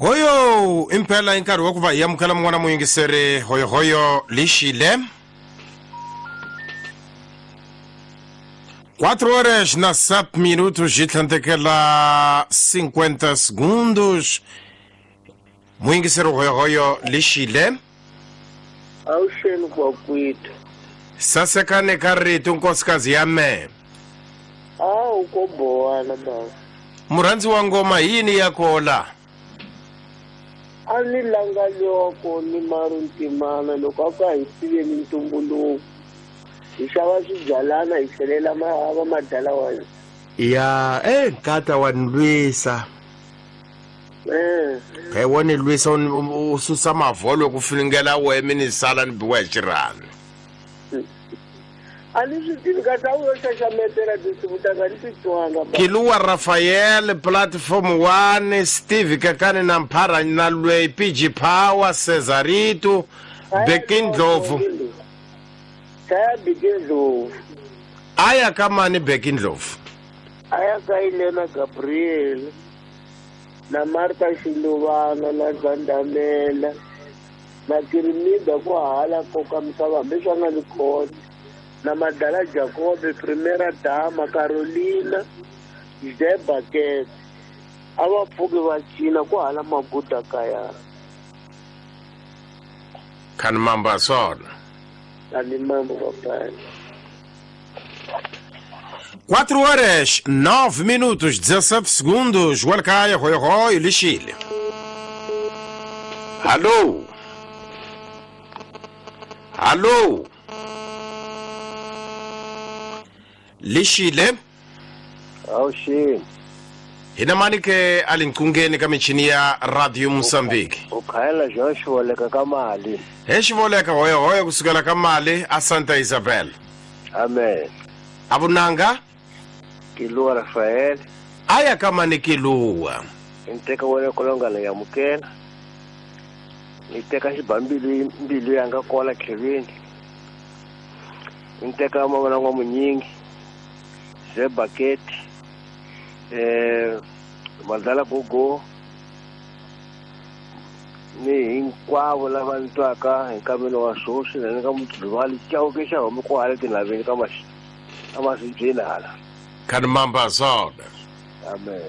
Hoyo impela i nkarhi wa ku va hi amukela mun'wana muyingiseri. Hoyohoyo lixile. 4 horas na 7 minutos e tlhandlekela 50 segundos. Muyingiseri hoyohoyo lixile. Awuxeni kwakwethu. Sasekane ka rito nkosikazi ya mehe. Awu ko bowana baba. Murhandzi wa ngoma hi yini ya kola? A ni langa loko ni maru ntimana loko a ku a hi tiveni ntumbuluko. Hi xava swibyalana hi tlhelela va madala wa hina. Ya, eh nkata wa ni lwisa. Eh. He wo ni lwisa u susa mavholo ku finingela wehe mi ni sala ni biwa hi xirhami. A ni swi tivi kasi a wu yo xaxametela tinsimu ta ka ni ti twanga ba. Kiluwa Raphael, Platform 1, Steve Kakani na Mphara na Lwei, PG Power, Cesarito, Beki Ndlovu. Chaya Beki Ndlovu. A ya ka mani Beki Ndlovu? A ya ka Elena Gabriel na Martha Xiluvana na Zandamela na Kirimida ku hala koka misava hambi swa nga ni khona na Madala Jacobe, Primera Dama, Carolina, Zebakete. A va pfuki va cina ku hala maguda kaya. Khani mamba swona. Khani mamba papai. 4 horas 9 minutos 17 segundos. Welkaya hoyo hoyo lixile. Alô? Alô? Lixile? Awuxini. Hina mani ke a le nqungeni ka michini ya Radio Mozambique. U khayela Jean Xivoleka ka mali. He Xivoleka hoyo hoyo kusukela ka mali a Santa Isabel. Amen. A vunanga? Kiluwa Rafael. A ya ka mani Kiluwa. Ni teka wena kolonga ni yamukela. Ni teka xibambilu mbilu yanga kwala Kevin. Ni teka mavona n'wa munyingi. Ze bucket. Madala gogo. Ni hinkwavo lava ni twaka hi nkambelo wa swoswi na ni nga mudluvali chauke xa homi kwale tinhaveni ka masibyeni hala. Khani mamba swona. Amen.